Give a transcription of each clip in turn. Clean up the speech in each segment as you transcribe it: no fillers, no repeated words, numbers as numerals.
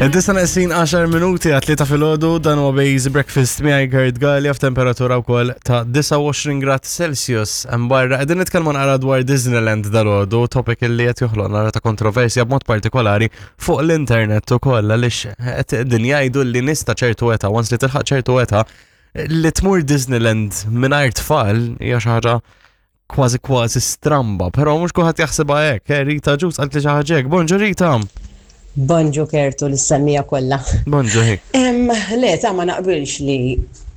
Id-disa neqsin 10 minuti għat ta' filgħodu dan huwa Bejz Breakfast miegħi Gerd Gallia f'temperatura wkoll ta' 29 grad Celsius. Hemm barra qegħdin nitkellmu naqra dwar Disneyland dalgħodu, topic li qed joħloq naqra ta' kontroversja b'mod partikolari fuq l-internet ukoll għaliex qed din jgħidu li nies ta' ċertu età, once li tilħaq ċertu età, li tmur Disneyland mingħajr tfal hija xi ħaġa kważi kważi stramba, però mhux kulħadd jaħsibha hekk. Eh, Rita Ġus qalt li xi ħaġa hekk. Bonġu Rita. Bonġu Kertu l-semmija kollha. Bonġu hi. Le, ta' ma naqbilx li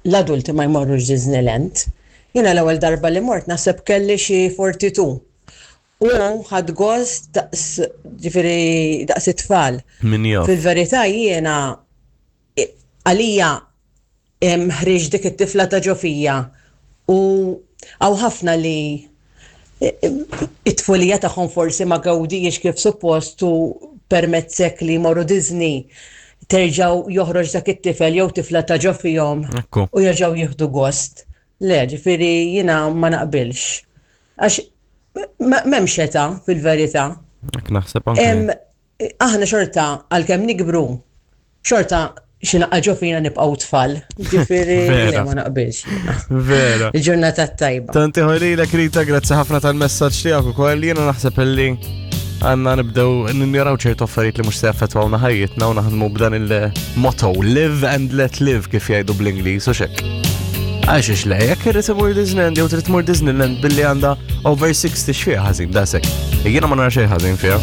l-adulti ma jmorrux Disneyland. Jiena l-ewwel darba li mort naħseb kelli xi 42. U ħadt gost daqs ġifieri daqs it-tfal. Min jaf. Fil-verità jiena għalija ħriġt dik it-tifla ta' ġo fija u hawn ħafna li it-tfulija tagħhom forsi ma gawdijiex kif suppost u permezz hekk li jmorru Disney terġgħu joħroġ dak it-tifel jew tifla ta' ġo fihom u jerġgħu jieħdu gost. Le, ġifieri jiena ma naqbilx. Għax m'hemmx età fil-verità. Hekk naħseb anke. Aħna xorta għalkemm nikbru, xorta xi naqqa ġo fina nibqgħu tfal. Ġifieri ma naqbilx. Vera. Il-ġurnata tajba. Tanti ħolilek Rita, grazzi ħafna tal-messaġġ tiegħek ukoll. Jiena naħseb illi għanna nibdew ninjaraw ċertu affarijiet li mhux se jaffettwawna ħajjitna u naħdmu b'dan il-motto live and let live kif jgħidu bl-Ingliż u xek. Għax ix le, jekk irrid imur Disneyland jew trid tmur Disneyland billi għandha over 60 xfiha ħażin dasek. Jiena ma nara xejn ħażin fiha.